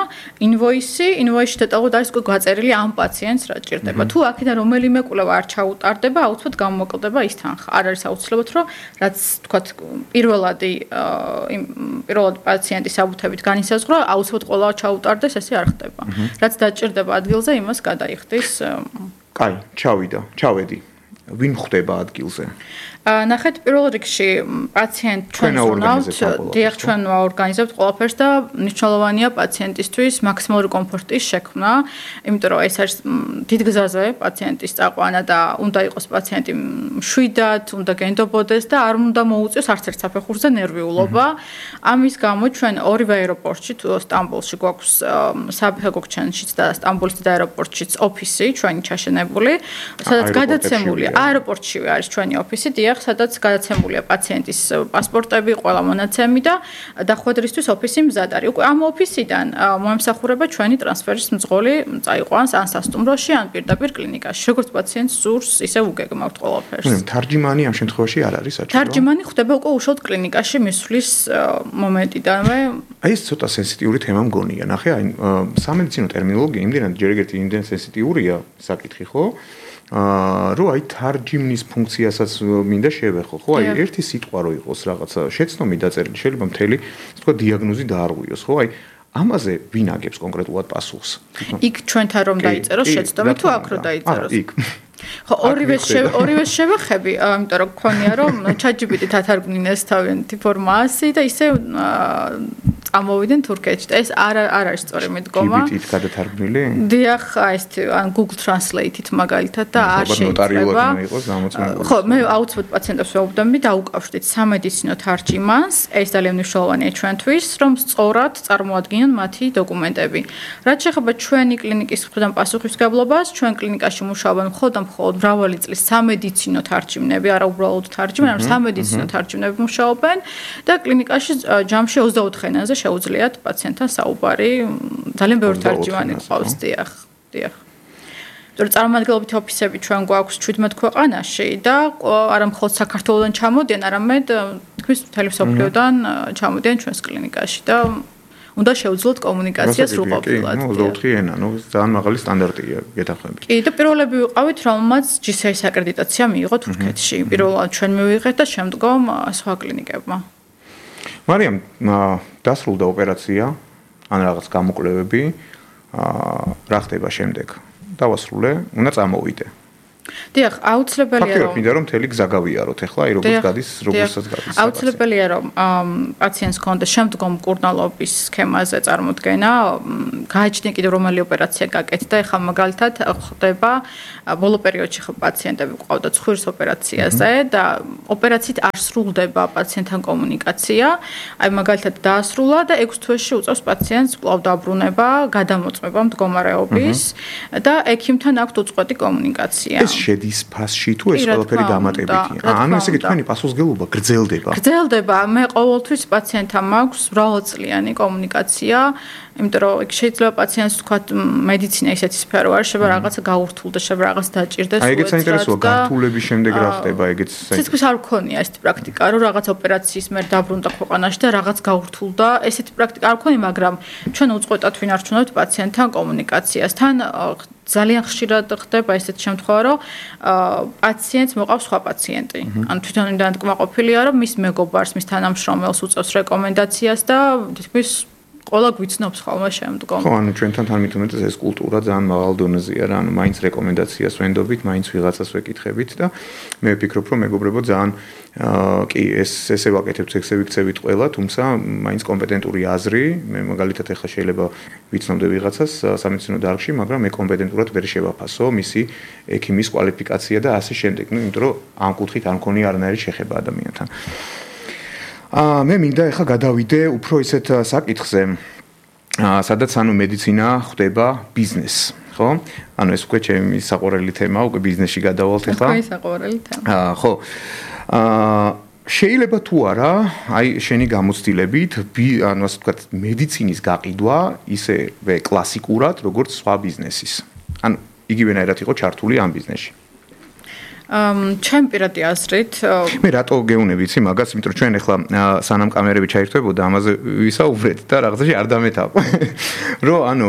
ინვოისში დეტალურად არის გაწერილი ამ პაციენტს რა ჭირდება. თუ აქედან რომელიმე კვლევა არ ჩაუტარდება, აუცილებლად გამოკლდება ის თანხა. არ არის აუცილებლად, რომ რაც თქვათ პირველადი პაციენტის საბუთები განისაზღვრა, აუცილებლად ყველა ჩაუტარდეს, ესე არ ხდება. რაც დაჭირდება ადგილზე, იმას გადაიხდის. კაი, ჩავედი. ვინ ხვდება ადგილზე? ნახეთ, პირველ რიგში პაციენტ ჩვენ ვუნავთ, დიახ, ჩვენ ვაორგანიზებთ ყველაფერს და მნიშვნელოვანია პაციენტისთვის მაქსიმალური კომფორტის შექმნა, იმიტომ რომ ეს არის დიდ გზაზე პაციენტის წაყვანა და უნდა იყოს პაციენტი მშვიდად, უნდა გენდობოდეს და არ უნდა მოუწიოს არც ერთ საფეხურზე ნერვიულობა. ამის გამო ჩვენ ორივე აეროპორტში, თუ სტამბოლში გვაქვს საფეხურჩენშიც და სტამბოლის დიდ აეროპორტშიც ოფისი ჩვენი ჩაშენებული, სადაც გადაცემულია აეროპორტშივე არის ჩვენი ოფისი, დიახ, სადაც გადაცემულია პაციენტის პასპორტები, ყველა მონაცემი და დახვედრისთვის ოფისი მზად არის. უკვე ამ ოფისიდან მოემსახურება ჩვენი ტრანსფერის მძღოლი, წაიყვანს ან სასტუმროში, ან პირდაპირ კლინიკაში. როგორც პაციენტს სურს, ისე უგეგმავთ ყველაფერს. თარჯიმანი ამ შემთხვევაში არ არის საჭირო. თარჯიმანი ხდება უკვე უშუალოდ კლინიკაში მისვლის მომენტიდანვე. აი ეს ცოტა სენსიტიური თემა მგონია. ნახე, აი სამედიცინო ტერმინოლოგია იმდენად ჯერ ერთი იმდენ სენსიტიურია საკითხი, ხო? რომ აი თარჯიმნის ფუნქციასაც მინდა შევეხო, ხო? აი ერთი სიტყვა რო იყოს რაღაცა შეცდომი დაწერილი, შეიძლება მთელი, თქვა დიაგნოზი დაარღვიოს, ხო? აი ამაზე ვინ აგებს კონკრეტულად პასუხს? იქ ჩვენთან რომ დაიწეროს შეცდომი თუ აქ რო დაიწეროს? იქ. ხო, ორივე შევეხები, იმიტომ რომ გქონია რომ ChatGPT-ით ათარგმნინეს თავიანთი ფორმაში და ისე წამოვიდნენ თურქეთში და ეს არ არის სწორი მიდგომა. GPT-ით გადათარგმნილი? დიახ, ეს ან Google Translate-ით მაგალითად და არ შეიძლება. ხო, მე აუცილებლად პაციენტებს ვეუბნები დაუკავშირდით სამედიცინო თარჯიმანს, ეს ძალიან მნიშვნელოვანია ჩვენთვის, რომ სწორად წარმოადგინონ მათი დოკუმენტები. რაც შეეხება ჩვენი კლინიკის მხრიდან პასუხისმგებლობას, ჩვენ კლინიკაში მუშაობენ მხოლოდ მრავალი წლის სამედიცინო თარჯიმნები, არა უბრალოდ თარჯიმანი, არამედ სამედიცინო თარჯიმნები მუშაობენ და კლინიკაში ჯამში 24 ენაზე შეუძლიათ პაციენტთან საუბარი. ძალიან ბევრი თარჯიმანი ყავს, დიახ. იმიტომ წარმომადგენლობითი ოფისები ჩვენ გვაქვს 17 ქვეყანაში და არა მხოლოდ საქართველოსდან ჩამოდიან, არამედ თითქმის მთელი მსოფლიოდან ჩამოდიან ჩვენს კლინიკაში და უნდა შეუძლოთ კომუნიკაცია სრულყოფილად. 24 ენა, ძალიან მაღალი სტანდარტია გეთანხმებით. კი, და პირველები ვიყავით, რომელმაც GCIS აკრედიტაცია მიიღო თურქეთში. პირველად ჩვენ მივიღეთ და შემდგომ სხვა კლინიკებმა. მარიამ, დასრულდა ოპერაცია, ან რაღაც გამოკვლევები, რა ხდება შემდეგ? დავასრულე, უნდა წამოვიდე. დიახ, აუცილებელია რომ მინდა რომ მთელი გზა გავიაროთ ახლა, აი როგორც გადის, როგორცაც გადის. აუცილებელია რომ პაციენტს კონდეს შემდგომ კურნალობის სქემაზე წარმოდგენა, გააჩნია კიდევ რომელი ოპერაცია გაკეთდა, ახლა მაგალითად ხდება ბოლო პერიოდში ხო პაციენტები ყავდა ცხვირის ოპერაციაზე და ოპერაციით არ სრულდება პაციენტთან კომუნიკაცია, აი მაგალითად დაასრულა და 6 თვეში უწევს პაციენტს კვლავ დაბრუნება, გადამოწმება მდგომარეობის და ექიმთან აქვს უწყვეტი კომუნიკაცია. შედის ფასში თუ ეს ყველაფერი დამატებითია? ანუ ესე იგი თქვენი პასუხისგებლობა გრძელდება. გრძელდება. მე ყოველთვის პაციენტთან მაქვს მრავალწლიანი კომუნიკაცია, იმიტომ რომ შეიძლება პაციენტს თქვა მედიცინა ისეთი სფერო არის, შეიძლება რაღაცა გაურთულდეს, შეიძლება რაღაც დაჭირდეს. აი ეგეც საინტერესოა, გართულების შემდეგ რა ხდება, ეგეც საინტერესოა. ცეცხლის არ მქონია ესეთი პრაქტიკა, რომ რაღაც ოპერაციის მერ დაბრუნდა ქვეყანაში და რაღაც გაურთულდა. ესეთი პრაქტიკა არ მქონია, მაგრამ ჩვენ უწყვეტად ვინარჩუნებთ პაციენტთან კომუნიკაციასთან. ძალიან ხშირად ხდება ესეთი შემთხვევა, რომ პაციენტს მოყავს სხვა პაციენტი. ანუ თვითონ იმდან კმაყოფილია, რომ მის მეგობარს, მის თანამშრომელს უწევს რეკომენდაციას და თითქმის ყველა გვიცნობს ხოლმე შემდგომ. ხო, ანუ ჩვენთან თან მithumetes ეს კულტურა ძალიან მაღალ დონეზეა რა, ანუ მაინც რეკომენდაციას ვენდობით, მაინც ვიღაცას ვეკითხებით და მე ვფიქრობ, რომ მეგობრებო ძალიან კი ესე ვაკეთებთ, ესე ვიქცევით ყველა, თუმცა მაინც კომპეტენტური აზრი, მე მაგალითად ახლა შეიძლება ვიცნობდე ვიღაცას სამედიცინო დარგში, მაგრამ მე კომპეტენტურად ვერ შევაფასო მისი ექიმის კვალიფიკაცია და ასე შემდეგ, ну, იმიტომ რომ ამ კუთხით არ მქონია არანაირი შეხება ადამიანთან. მე მინდა ახლა გადავიდე უფრო ისეთ საკითხზე, სადაც ანუ მედიცინა ხდება ბიზნეს, ხო? ანუ ეს უკვე ჩემი საყვარელი თემა, უკვე ბიზნესში გადავალთ ახლა. თქვენი საყვარელი თემა. ხო. შეიძლება თუ არა, აი შენი გამოცდილებით, ანუ ასე ვთქვათ, მედიცინის გაყიდვა ისევე კლასიკურად, როგორც სხვა ბიზნესის. ანუ იგივენაირად იყო ჩართული ამ ბიზნესში. ჩემ პირადი აზრით მე რატო გეუნები იცი მაგას, იმიტომ რომ ჩვენ ახლა სანამ კამერები ჩაირთვებოდა ამაზე ვისაუბრეთ და რაღაცაში არ დამეთავ. რომ ანუ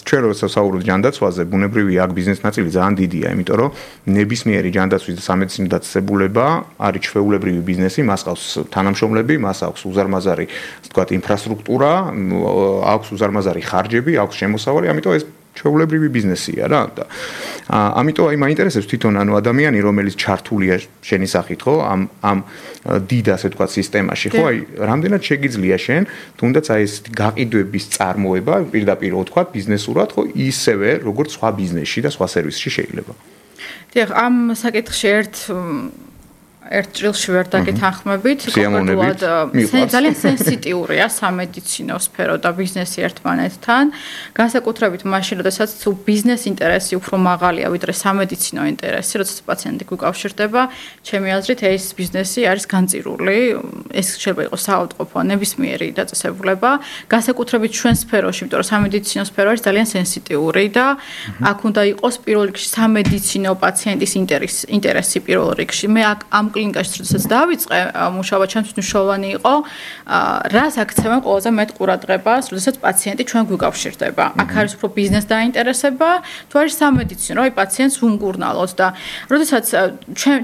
ჩვენ როცა საუბრობთ ჯანდაცვაზე, ბუნებრივი აქ ბიზნეს ნაწილი ძალიან დიდია, იმიტომ რომ ნებისმიერი ჯანდაცვის და სამედიცინო დაწესებულება არის ჩვეულებრივი ბიზნესი, მას აქვს თანამშრომლები, მას აქვს უზარმაზარი, ასე ვთქვათ, ინფრასტრუქტურა, აქვს უზარმაზარი ხარჯები, აქვს შემოსავალი, ამიტომ ეს ჩვეულებრივი ბიზნესია რა და ამიტომ აი მაინტერესებს თვითონ ანუ ადამიანი რომელიც ჩართულია შენი სახით ხო ამ დიდ ასე ვთქვათ სისტემაში ხო აი რამდენად შეგიძლია შენ თუნდაც აი ეს გაყიდვების წარმოება პირდაპირ ვთქვათ ბიზნესურად ხო ისევე როგორც სხვა ბიზნესში და სხვა სერვისში შეიძლება დიახ ამ საკითხში ერთ ჭრილში ვერ დაგეთანხმებით, კონკრეტულად ძალიან სენსიტიურია სამედიცინო სფერო და ბიზნესი ერთმანეთთან. განსაკუთრებით მაშინ, როდესაც თუ ბიზნეს ინტერესი უფრო მაღალია, ვიდრე სამედიცინო ინტერესი, როდესაც პაციენტი გვიკავშირდება, ჩემი აზრით ეს ბიზნესი არის განწირული. ეს შეიძლება იყოს საავადმყოფო ნებისმიერი დაწესებულება, განსაკუთრებით ჩვენ სფეროში, იმიტომ რომ სამედიცინო სფერო არის ძალიან სენსიტიური და აქ უნდა იყოს პირველ რიგში სამედიცინო პაციენტის ინტერესი პირველ რიგში. მე ამ კლინიკაში როდესაც დავიწყე მუშაობა ჩემთვის მნიშვნელოვანი იყო რას აქცევენ ყველაზე მეტ ყურადღებას როდესაც პაციენტი ჩვენ გვიკავშირდება აქ არის უფრო ბიზნეს დაინტერესება თუ არის სამედიცინო აი პაციენტს ვუმკურნალოთ და როდესაც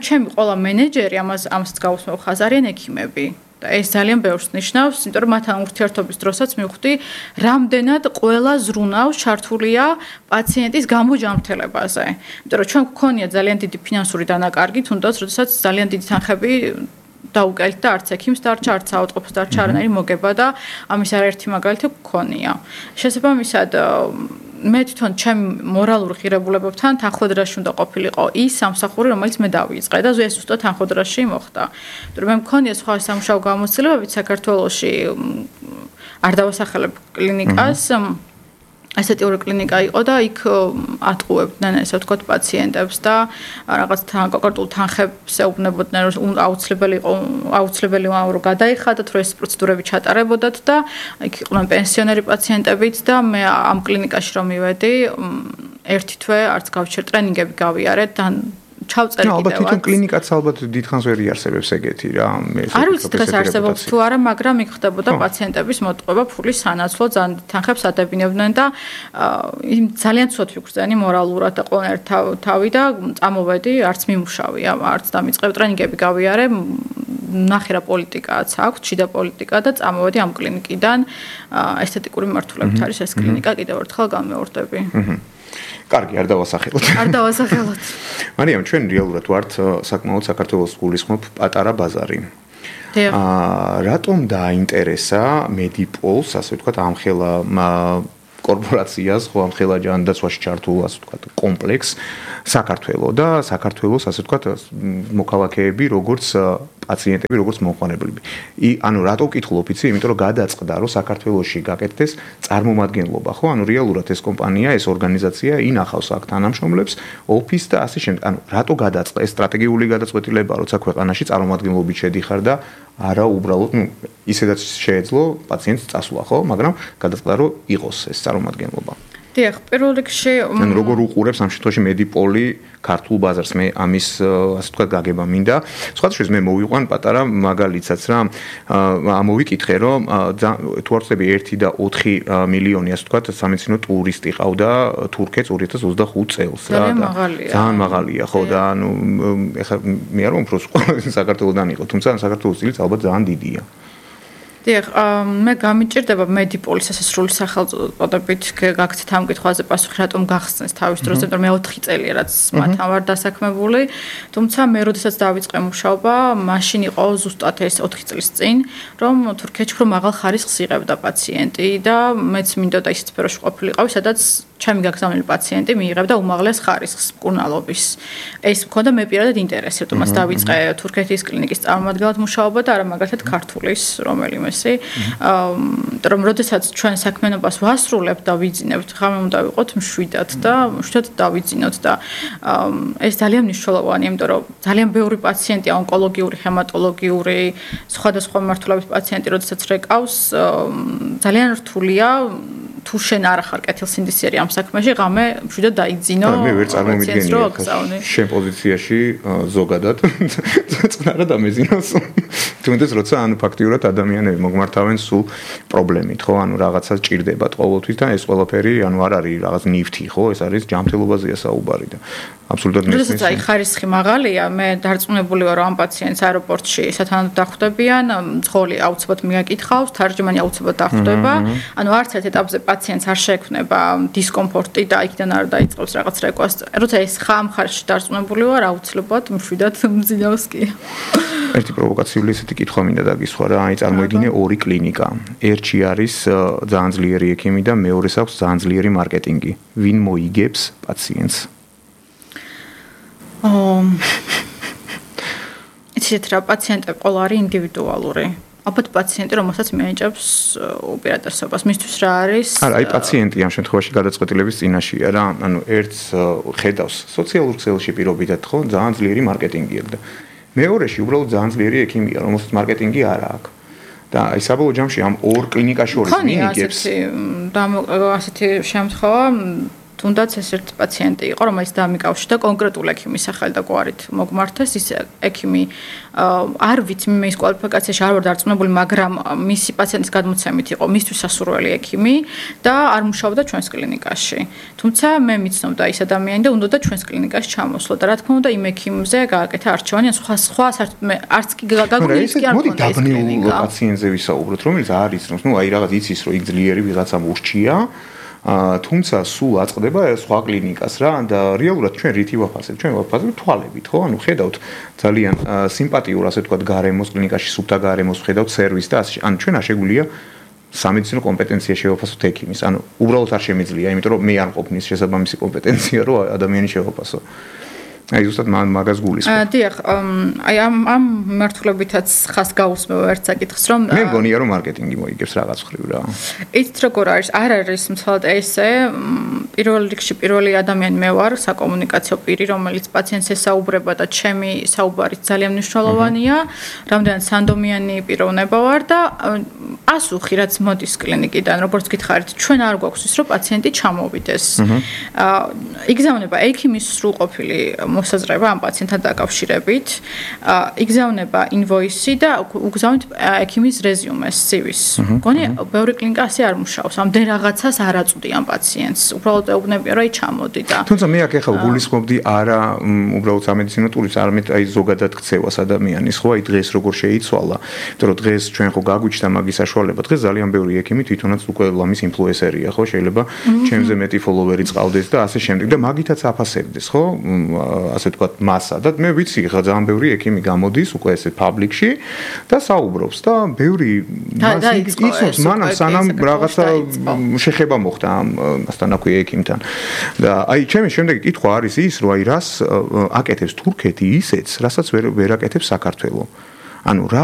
ჩემი ყველა მენეჯერი ამასაც გავუსმევ ხაზს არიან ექიმები ეს ძალიან ბევრს ნიშნავს, იმიტომ რომ მათთან ურთიერთობის დროსაც მივხვდი, რამდენად ყველა ზრუნავს ჩართულია პაციენტის გამოჯანმრთელებაზე. იმიტომ რომ ჩვენ გვქონია ძალიან დიდი ფინანსური დანაკარგი, თუნდაც როდესაც ძალიან დიდი თანხები დაუკელით და არც ექიმს დარჩა, არც საავადმყოფოს დარჩა არანაირი მოგება და ამის არაერთი მაგალითი გვქონია. შესაბამისად მე თვითონ ჩემი მორალური ღირებულებებთან თანხმდრაში უნდა ყოფილიყო ის სამსახური, რომელიც მე დავიწყე და ეს უბრალოდ თანხმდრაში მოხდა. იმიტომ რომ მე მქონია სხვა სამუშაო გამოცდილებებით საქართველოში არ დავასახელებ კლინიკას, ასეთი ორი კლინიკა იყო და იქ ატყუებდნენ ესე ვთქვათ პაციენტებს და რაღაც კონკრეტულ თანხებს ეუბნებოდნენ რომ აუცილებელი რომ გადაიხადათ რომ ეს პროცედურები ჩატარებოდათ და იქ იყვნენ პენსიონერი პაციენტებიც და მე ამ კლინიკაში რომ მივედი ერთი თვე არც გავჩერ ტრენინგები გავიარეთ და ჩავწერე კიდევაც. ალბათ თვითონ კლინიკაც ალბათ დიდხანს ვერ იარსებებს ეგეთი რა. არ ვიცი დღეს არსებობს თუ არა, მაგრამ იქ ხდებოდა პაციენტების მოტყუება ფულის სანაცვლოდ ძალიან თანხებს ადებინებდნენ და ძალიან ცუდ ვიგრძენი მორალურად და ყველანაირ თავი და წამოვედი, არც მიმუშავია, არც დამიწყებ ტრენინგები გავიარე. ნახე რა პოლიტიკაც აქვს, შიდა პოლიტიკა და წამოვედი ამ კლინიკიდან ესთეტიკური მმართველობით არის ეს კლინიკა, კიდევ ერთხელ გამეორდები. კარგი, არ დავასახელოთ. არ დავასახელოთ. მარიამ, ჩვენ რეალურად ვართ საკმაოდ საქართველოს გულისხმობ პატარა ბაზარი. რატომ დაინტერესა მედიპოლს, ასე ვთქვათ, ამხელა კორპორაციას, ხო, ამ ხელა ჯანდაცვაში ჩართულ, ასე ვთქვათ, კომპლექსს საქართველოს და საქართველოს, ასე ვთქვათ, მოქალაქეები, როგორც პაციენტები, როგორც მომხმარებლები. ანუ რატო ვკითხულობ იცი? იმიტომ რომ გადაწყდა, რომ საქართველოში გაკეთდეს წარმომადგენლობა, ხო? ანუ რეალურად ეს კომპანია, ეს ორგანიზაცია ინახავს აქ თანამშრომლებს, ოფისს და ასე შემდეგ. ანუ რატო გადაწყდა ეს სტრატეგიული გადაწყვეტილება, როცა ქვეყანაში წარმომადგენლობით შედიხარ და არა უბრალოდ, ისედაც შეეძლო პაციენტს წასვლა, ხო? მაგრამ გადაწყდა, რომ იყოს ეს წარმომადგენლობა. დიახ, პირველ რიგში ან როგორ უყურებს ამ შემთხვევაში მედიპოლი ქართულ ბაზარს? მე ამის ასე ვთქვათ გაგება მინდა. სხვადასხვა მე მოვიყვან პატარა მაგალითსაც რა, ამოვიკითხე რომ თუ არ ვწდები 1 და 4 მილიონი ასე ვთქვათ სამედიცინო ტურისტი ყავდა თურქეთს 2025 წელს რა და ძალიან მაღალია ხო და ანუ ეხლა მე არ ვამფროს საქართველოსდან იყო, თუმცა საქართველოს წილიც ალბათ ძალიან დიდია. დიახ, მე გამიჭირდება მედიპოლის ასასრული სახელწოდებით გაქცეთ ამ კითხვაზე პასუხი, რატომ გახსნეს თავის დროს, იმიტომ რომ მე 4 წელია რაც მათთან ვარ დასაქმებული, თუმცა მე როდესაც დავიწყე მუშაობა, მაშინ იყო ზუსტად ეს 4 წლის წინ, რომ თურქეთში უფრო მაღალ ხარისხს იღებდა პაციენტი და მეც მინდოდა ის სფეროში ყოფილიყავი, სადაც ჩემი გაგზავნილი პაციენტი მიიღებდა უმაღლეს ხარისხს მკურნალობის. ეს მქონდა მე პირადად ინტერესი, რომ მას დავიწყე თურქეთის კლინიკის წარმომადგენლად მუშაობა და არა მაგალითად ქართულის რომელიმე რომ როდესაც ჩვენ საქმიანობას ვასრულებთ და ვიძინებთ, ღამე უნდა ვიყოთ მშვიდად და მშვიდად დავიძინოთ და ეს ძალიან მნიშვნელოვანია, იმიტომ რომ ძალიან ბევრი პაციენტი ონკოლოგიური, ჰემატოლოგიური, სხვადასხვა მიმართულების პაციენტი როდესაც რეკავს, ძალიან რთულია თუ შენ არ ხარ კეთილსინდისიერი ამ საქმეში, ღამე მშვიდად დაიძინო. მე ვერ წარმოვიდგენია შენ პოზიციაში ზოგადად წყნარად ამეზინოს. თუნდაც როცა ანუ ფაქტიურად ადამიანები მოგმართავენ სულ პრობლემით, ხო? ანუ რაღაცა ჭირდებათ ყოველთვის და ეს ყველაფერი ანუ არ არის რაღაც ნიფთი, ხო? ეს არის ჯანმრთელობაზეა საუბარი და აბსოლუტურად მესმის. როდესაც აი ხარისხი მაღალია, მე დარწმუნებული ვარ რომ ამ პაციენტს აეროპორტში სათანადოდ დახვდებიან, მძღოლი აუცილებლად მიაკითხავს, თარჯმანი აუცილებლად დახვდება. ანუ არც ერთ ეტაპზე პაციენტს არ შეექმნება დისკომფორტი და იქიდან არ დაიწყებს რაღაც რეკვესტს. როცა ეს ხამ ხარში დარწმუნებული ვარ, აუცილებლად მშვიდად მძინავს კი. ერთი პროვოკაციული ესეთი კითხვა მინდა დაგისვა რა, აი წარმოიდგინე ორი კლინიკა. ერთში არის ძალიან ძლიერი ექიმი და მეორეს აქვს ძალიან ძლიერი მარკეტინგი. ვინ მოიგებს პაციენტს? იცით რა, პაციენტები ყველა არის ინდივიდუალური. ალბათ პაციენტი, რომელსაც მიენიჭებს უპირატესობას, მისთვის რა არის? არა, აი პაციენტი ამ შემთხვევაში გადაწყვეტილების წინაშეა რა. ანუ ერთს ხედავს სოციალურ ქსელში პირობითად, ხო, ძალიან ძლიერი მარკეტინგი აქვს და მეორეში უბრალოდ ძალიან ძლიერი ექიმია, რომელსაც მარკეტინგი არ აქვს. და აი საბოლოო ჯამში ამ ორ კლინიკაში შორის მიიგებს ასეთი შემთხვევა თუნდაც ეს ერთ პაციენტი იყო, რომელიც დამიკავშირდა კონკრეტულ ექიმის სახელი და გვარით მოგმართეს. ის ექიმი არ ვიცი მე ის კვალიფიკაციაში არ ვარ დარწმუნებული, მაგრამ მისი პაციენტის გადმოცემით იყო მისთვის სასურველი ექიმი და არ მუშაობდა ჩვენს კლინიკაში. თუმცა მე მიცნობდა ის ადამიანი და უნდოდა ჩვენს კლინიკაში ჩამოსვლა და რა თქმა უნდა იმ ექიმზე გააკეთა არჩევანი, სხვა საერთოდ მე არც კი გაგონილის კი არ მქონდა ეს კლინიკა. პაციენტზე ვისაუბროთ, რომელიც არის რომ ნუ აი რაღაც იცის რომ იქ ძლიერი ვიღაცა მურჩია. თუმცა სულ აწყდება სხვა კლინიკას რა და რეალურად ჩვენ რითი ვაფასებთ? ჩვენ ვაფასებთ თვალებით, ხო? ანუ ხედავთ ძალიან სიმპათიურ, ასე ვთქვათ, გარემოს კლინიკაში, სუფთა გარემოს, ხედავთ სერვისს და ასე. ანუ ჩვენ არ შეგვიძლია სამედიცინო კომპეტენცია შევაფასოთ ექიმის. ანუ უბრალოდ არ შემიძლია, იმიტომ რომ მე არ მყოფნის შესაბამისი კომპეტენცია, რომ ადამიანი შევაფასო. აი ზუსტად მაგას გულისხმობ. დიახ, აი ამ მიმართულებითაც ხას გაუსმევ ერთ საკითხს, რომ მე მგონია რომ მარკეტინგი მოიგებს რაღაც ხრივ რა. იცით როგორ არის? არ არის მთლად ესე. პირველ რიგში პირველი ადამიანი მე ვარ, საკომუნიკაციო პირი, რომელიც პაციენტს ესაუბრება და ჩემი საუბარი ძალიან მნიშვნელოვანია. რამდენად სანდომიანი პიროვნება ვარ და პასუხი რაც მოდის კლინიკიდან, როგორც გითხარით, ჩვენ არ გვაქვს ის რომ პაციენტი ჩამოვიდეს. იგზავნება ექიმის სრულყოფილი მოსაზრება ამ პაციენტთან დაკავშირებით, იგზავნება ინვოისი და უგზავნით ექიმის რეზიუმეს, CV-ს. მგონი ბევრი კლინიკა ასე არ მუშაობს, ამდენ რაღაცას არ აწვდიან პაციენტს. უბრალოდ ეუბნებიან, რომ აი ჩამოდი და თუმცა მე აქ ახლა გულისხმობდი არა უბრალოდ სამედიცინო ტურისტს, არამედ აი ზოგადად ქცევას ადამიანის, ხო, აი დღეს როგორ შეიცვალა, იმიტომ რომ დღეს ჩვენ ხო გაგვიჩნდა მაგის საშუალება. დღეს ძალიან ბევრი ექიმი თვითონაც უკვე ლამის ინფლუენსერია, ხო, შეიძლება ჩემზე მეტი ფოლოვერი წავდეს და ასე შემდეგ და მაგითაც აფასებდეს, ხო? ასე ვთქვათ, მასა და მე ვიცი, ხა ძალიან ბევრი ექიმი გამოდის უკვე ესე პაბლიკში და საუბრობს და ბევრი იცნობს მანამ სანამ რაღაცა შეხება მოხდა ამასთან აქვე ექიმთან. და აი ჩემი შემდეგი კითხვა არის ის, რომ აი რას აკეთებს თურქეთი ისეც, რასაც ვერ აკეთებს საქართველო. ანუ რა